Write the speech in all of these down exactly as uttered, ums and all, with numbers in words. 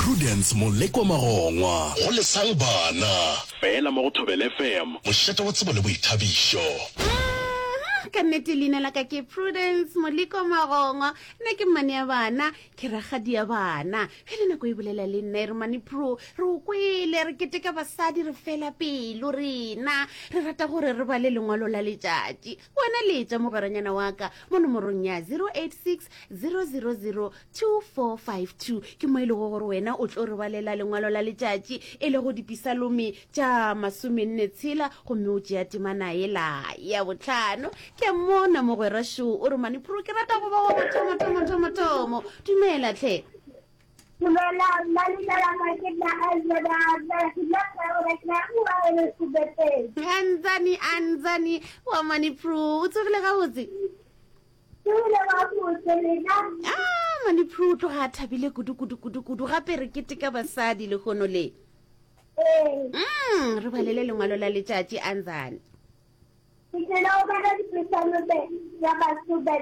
Prudence Molekwa Magongwa go Lesang Bana fela mo go Thobela F M, mošate wa tsebo le boithabišo. Mhm, ka nnete leina la ka ke Prudence Moleko Magongwa. Nna ke mmane ya bana, ke rakgadi ya bana. Bjale nako e bolela le nna e re, Mane Pro, re o kwele re keteka basadi, re fela pelo rena re rata gore re bale lengwalo la letšatši. Wena letša mogweranyana wa ka mo nomorong ya zero eight six zero zero zero two four five two, ke mo e lego gore wena o tlo re balela lengwalo la letšatši, e lego Dipisalome tša masomenne tshela, gomme o tšea temana ela ya botlhano. Ke a mmona mogwera šo, o re, Mane Pro, ke rata go ba wa mathomo thomo thomo thomo. Dumela tlhe. Dumela, nna leina la ka ke nna Angela, ke nna Sebeteng. Anzani, Anzani wa Mane Pro, o tsogile gabotse? Ke ile gabotse, lena? Ah, Mane Pro o tloga a thabile kudu kudu kudu kudu. Gape re keteka basadi lehono le. Ee. mm re balele lengwalo la letšatši, Anzani. Ke tlile go bala Dipesalome ya masome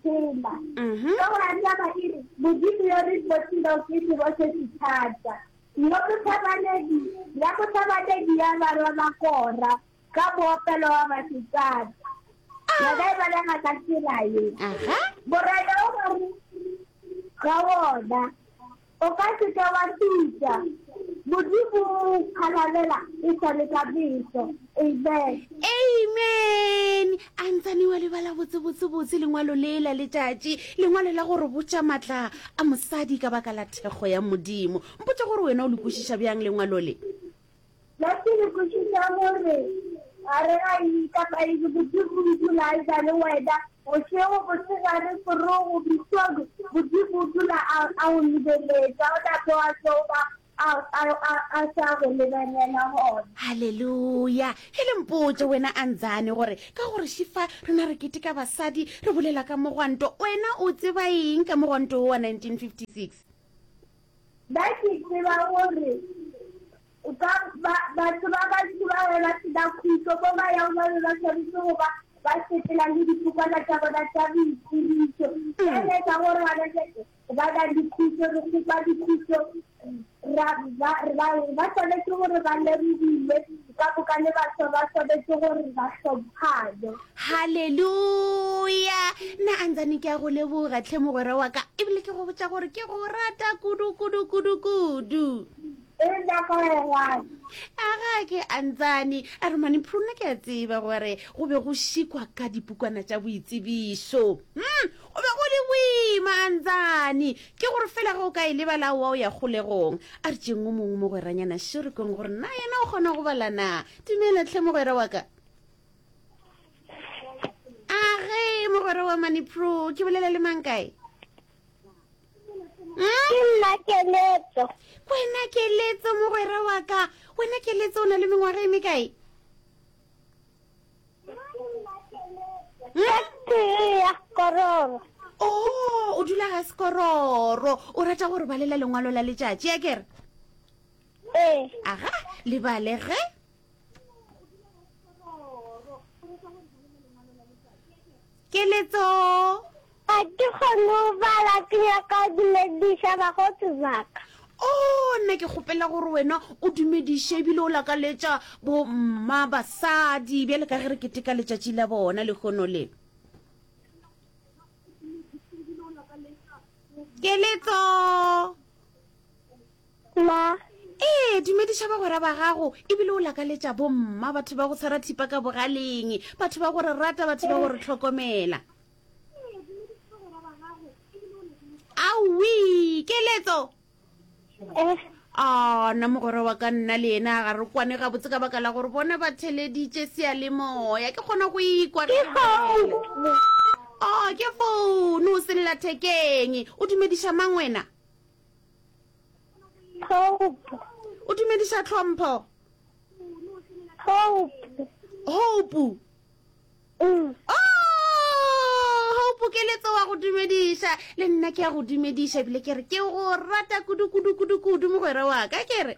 tshela. Mhm. Ka go taba e re, Modimo yo re botilego ke sebo se se thata. Yo motlhabanedi, ya motlhabanedi ya barwa ba Kora, ka moopelo wa basetsana. Yona e balega ka tsela ye. Aha. Morena o gare ga wona, o ka se ke wa tuta. Modimo o phalalela e sa le ka meso. Amen. Amen. Antsane wa lebala botse botse botse lengwalo le la letšatši, lengwalo la gore botša maatla a mosadi ka baka la thekgo ya Modimo. Mpotša gore wena o le kwešiša bjang lengwalo le. Nna ke le kwešiša gore gare ga eng kapa eng, Modimo o dula a ena le wena bošego, mosegare, morogo, mesong. Modimo o dula a a go lebeletše, ga gona mo a tlo ba a a a a sa go lebelela gona. Halleluja. Hele, mpotše wena Anzane gore ka gore šifa rena re keteka basadi, re bolela ka mogwanto, wena o tseba eng ka mogwanto wo wa nineteen fifty-six? Nna ke tseba gore ka ba batho ba bantši ba be ba sena khutšo mo ba yang, ba be ba swanetše go ba ba sepela le dipukwana tša bona tša boitsebišo. Bjale ka gore gana bjale ba na le khutšo, re kgopa dikhutšo, ra ba ba ba swanetše gore ba lemogiwe ka moka, le batho ba swanetše gore ba hlomphane. Halleluja. Nna Antsane ke a go leboga tlhe mogwera wa ka, ebile ke go botša gore ke go rata kudu kudu kudu kudu. E nna ka rata. Aga ke Antsane a re, Mane Pruna, ke a tseba gore go be go šikwa ka dipukwana tša boitsebišo. hmm go be go le boima, Antsane, ke gore fela ge o ka e lebala wa o ya kgolegong. A re tšeng o mongwe mogweranyana šorekong gore na yena o kgona go bala na. Dumela tlhe mogwera wa ka. Age mogwera wa Mane Pro, ke bolela le mang, kae? Ke nna Keletso. Wena Keletso, mogwera wa ka, wena Keletso, o na le mengwaga e mekae? Tee ya Kororo. O o dula ga Sekororo. O rata gore balela lengwalo la letšatši a kere? Ee. Aga, lebale ge. Keletso. Ga ke kgone go bala, ke nyaka go dumediša bagotsi baka. O nna ke kgopela gore wena o dumediše ebile o lakaletša bomma basadi bjale ka ge re keteka letšatši la bona lehono le. Keletso. Ma. Ee, dumediša bagwera ba gago ebile o lakaletša bomma, batho ba go tshwara thipa ka bogaleng, batho ba go re rata, batho ba go re tlhokomela. Aowi, Keletso. Eh. A nna mogwera wa ka, nna le yena ga re kwane gabotse ka baka la gore bona ba theleditše seyalemoya, ke kgona go ikwa Ke founu. O ke founu sellathekeng. O dumediša mang wena? Hope. O dumediša Tlhompho? Hope. Hope. Mm. Oh, Hope, Keletso wa go dumediša, le nna ke ya go dumediša ebile ke re ke go rata kudu kudu kudu kudu mogwera wa ka, ke re.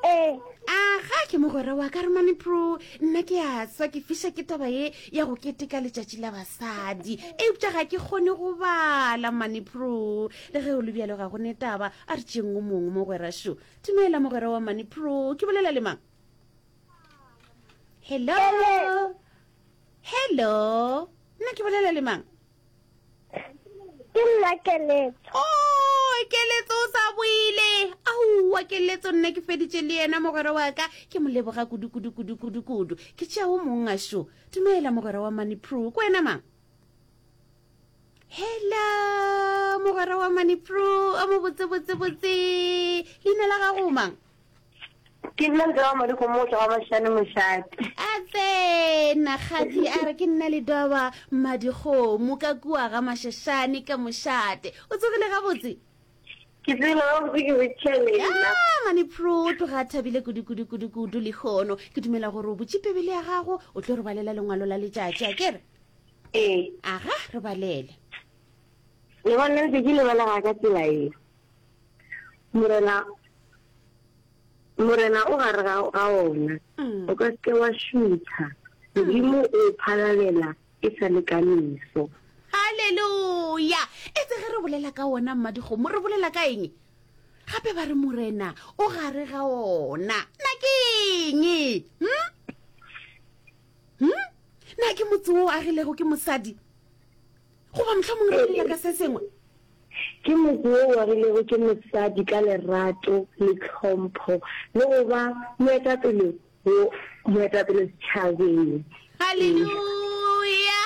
Ee. Aga, ke mogwera wa ka re mane Pro. Nna ke a swa ke fiša ke taba ye ya go keteka letšatši la basadi. Eupša ga ke kgone go bala mane Pro. Le ge o le bjalo ga go ne taba, a re tšeeng o mongwe mogwera šo. Dumela mogwera wa mane Pro. Ke bolela le mang? Hello. Hello. Nna ke bolela le mang? Ke nna Keletso. Oh, Keletso o sa boile. Aowa, Keletso nna ke feditše le yena mogwera wa ka. Ke mo leboga kudu kudu kudu kudu kudu. Ke tšea o mong a šo. Dumela mogwera wa Money Pro. Ke wena mang? Hello, mogwera wa Money Pro. O mo botse botse botse. Leina la gago mang? Ke nna Ledoba Madikgomo go tšwa ga Mashane Mošate. A tsena kgadi a re ke nna Ledoba Madikgomo ka kua ga Mashashane ka Mošate. O tsogile gabotse? Ke tsogile gabotse ke botšiša lena. Ah, mane Pro o tloga a thabile kudu kudu kudu kudu lehono. Ke dumela gore o butše Bibele ya gago o tlo re balela lengwalo la letšatši, a ke re? Ee. Aga, re balele. Lengwalo la letšatši le balega ka tsela ye, Morena Morena o gare ga, ga ona, o ka se ke wa šutha. Modimo o o phalalela e sa le ka meso. Haleluya! Etse ge re bolela ka wona Mmadikgomo, re bolela ka eng? Gape ba re Morena o gare ga ona. Na ke eng? Hm? Hm? Na ke motse wo o agilego ke mosadi? Goba mohlomong re bolela ka se sengwe? Ke motse wo o agilego ke mosadi ka lerato le tlhompho le go ba moetapele wo moetapele setšhabeng. Haleluya!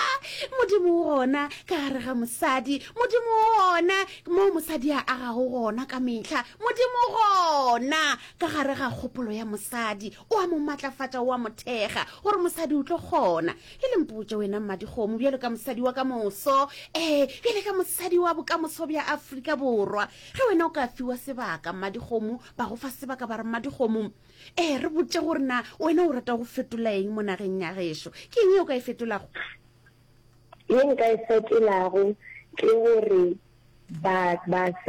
Modimo o gona ka gare ga mosadi. Modimo o gona moo mosadi a agago gona ka mehla. Modimo o gona ka gare ga kgopolo ya mosadi. O a mo matlafatša, o a mo thekga gore mosadi o tlo kgona. E le mpotše wena Mmadikgomo, bjalo ka mosadi wa ka moso, ee, bjale ka mosadi wa bokamoso bja Afrika Borwa, ge wena o ka fiwa sebaka, Mmadikgomo, ba go fa sebaka ba re, Mmadikgomo, ee, re botše gore na wena o rata go fetola eng mo nageng ya gešo. Ke eng ye o ka e fetolago? Ye nka e fetolago ke gore ba, basadi.